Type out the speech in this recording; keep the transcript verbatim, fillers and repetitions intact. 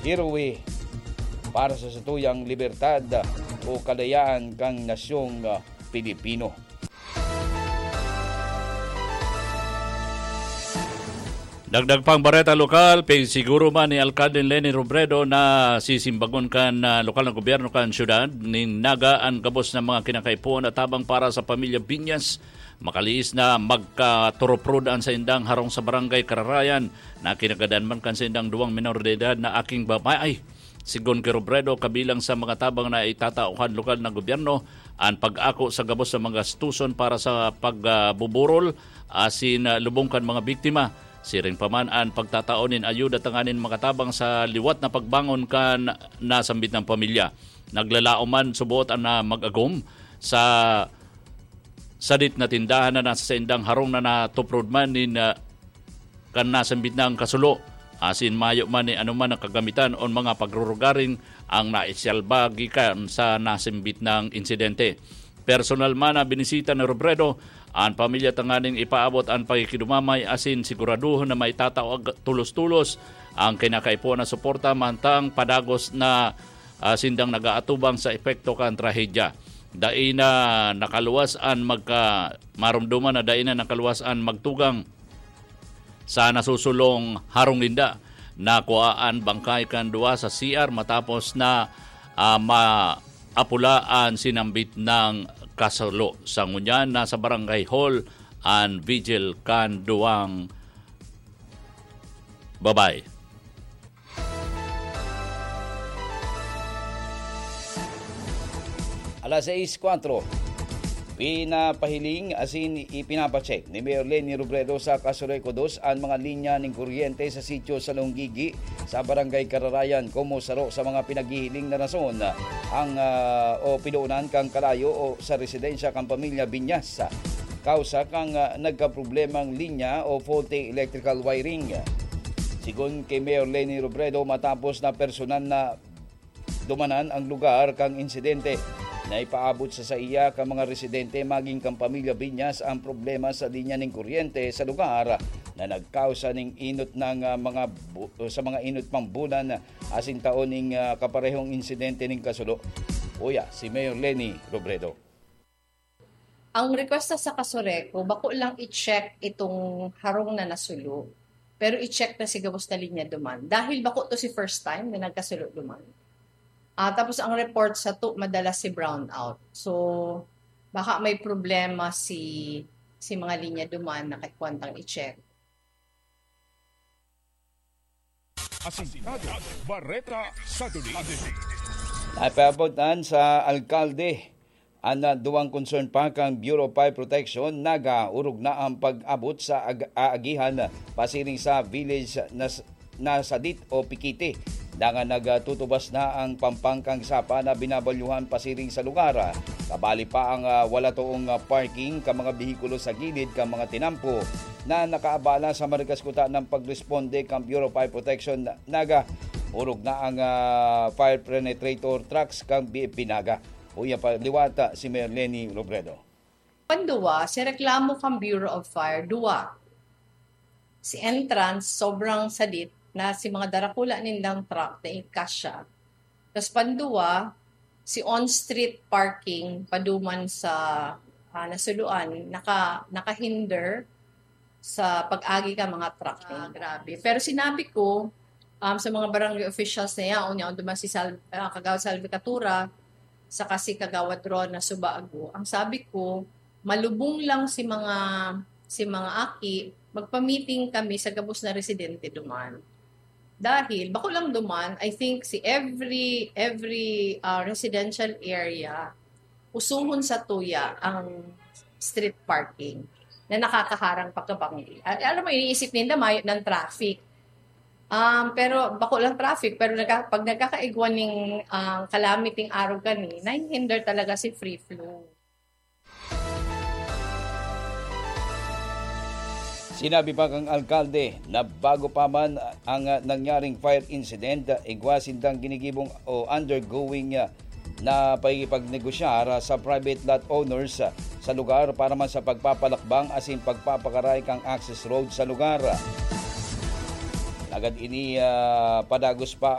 heroe para sa satuyang libertad o kalayaan kan nasyong, ah, Pilipino. Dagdag pang bareta lokal, pigsiguro man ni Alkalde Leni Robredo na sisimbagon kan, ah, lokal na gobyerno kan siyudad nin Naga an gabos na mga kinakaipuhan at tabang para sa pamilya Binyas. Makaliis na magkaturuprod an saindang harong sa Barangay Kararayan na kinagadan man kan saindang duwang minor de edad na aking babae. Sigon ki Robredo, kabilang sa mga tabang na itatao kan lokal na gobyerno, an pag-ako sa gabos na mga gastuson para sa pagbuburol asin, ah, lubong kan mga biktima. Siring pa man an pagtatao nin ayuda tanganing makatabang sa liwat na pagbangon kan nasambit na pamilya. Naglalaom man subot an, ah, mag-agom sa sadit na tindahan na nasa saindang harong na natuprod man nin, ah, kan nasambit na ang kasulo, asin mayo man ni anoman na kagamitan o mga pagrurugaring ang naisalba gikan sa nasambit na insidente. Personal man na binisita ni Robredo an pamilya tanganing ipaabot an pakikidumamay asin siguraduhon na maitatao ag-, tulos-tulos ang kinakaipuhan na suporta mantang padagos na, ah, sindang nag-aatubang sa epekto kan trahedya. Dai na nakaluwas an magka-, maromdoman na dai na nakaluwas an magtugang sa nasusulong harong ninda. Nakua an bangkay kan duwa sa C R matapos na, ah, maapula an sinambit na kasulo. Sa ngunyan, nasa barangay hall an vigil kan duwang babae. Alas sais kwatro, pinapahiling asin ipinapacheck ni Mayor Leni Robredo sa Casureco dos an mga linya nin kuryente sa sitio sa Lunggigi, sa Barangay Kararayan, komo saro sa mga pinaghihiling na rason ang, ah, o pinoonan kan kalayo o sa residensya kan pamilya Binyas. Kausa kan, ah, nagkaproblemang linya o faulty electrical wiring. Sigon ki Mayor Leni Robredo, matapos na personal na dumanan ang lugar kan insidente, naipaabot sa saiya kan mga residente maging kan pamilya Binyas ang problema sa linya nin kuryente sa lugar na nagkausa nin inot na, ah, mga bu-, sa mga inot pang bulan asin taon ning, ah, kaparehong insidente nin kasulo. Uya, si Mayor Leni Robredo. Ang request sa Casureco, bako lang i-check itong harong na nasulo, pero i-check na si gabos na linya duman. Dahil bako to si first time na nagkasulo duman. Ah, tapos ang report sa to, madalas si brownout. So, baka may problema si, si mga linya duman na kaikwan tang i-check. Asintado, Bareta sa Duli. Napaabot sa alkalde an, ah, duwang concern pa kan Bureau of Fire Protection, nagaurog na ang pag-abot sa ag- aagihan pasiring sa village na s- na sadit o pikiti. Dangan nagtutubas na ang pampangkang sapa na binabalyuhan pasiring sa lugar. Kabali pa ang, ah, wala toong, ah, parking ka mga behikulo sa gilid kan mga tinampo na nakaabala sa marikas kuta ng pagresponde kan Bureau of Fire Protection, Naga. Urog na ang, ah, fire penetrator trucks kan B F P Naga. Uya pa liwata si Mayor Leni Robredo. Panduwa, si reklamo kan Bureau of Fire, duwa. Si entrance, sobrang sadit na si mga darakula nindang truck na ikasya. Tas panduwa, si on-street parking paduman sa, ah, nasuluan, naka, nakahinder sa pag-agi ka mga truck. Ah, grabe. Pero sinabi ko, um, sa mga barangay officials na yaon, yaon duman si Sal-, ah, Kagawad Salvi Catura, saka si Kagawad Ron na Subago, ang sabi ko, malubong lang si mga, si mga aki, magpa-meeting kami sa gabos na residente duman. Dahil, bako lang duman, I think si every, every, ah, residential area, usuhon sa tuya ang street parking na nakakaharang pagkabanggi. Ah, alam mo, iniisip ninda mayo ng traffic. Um, pero bako lang traffic, pero nagka, pag nagkakaigwa ning, ah, calamity arog kani, nahihinder talaga si free flow. Sinabi pa kang alkalde na bago pa man ang, ah, nangyaring fire incident, ah, igwa sindang ginigibong o undergoing, ah, na pakikipagnegosyar, ah, sa private lot owners, ah, sa lugar para man sa pagpapalakbang asin pagpapakaray kang access road sa lugar. Agad ini, ah, padagos pa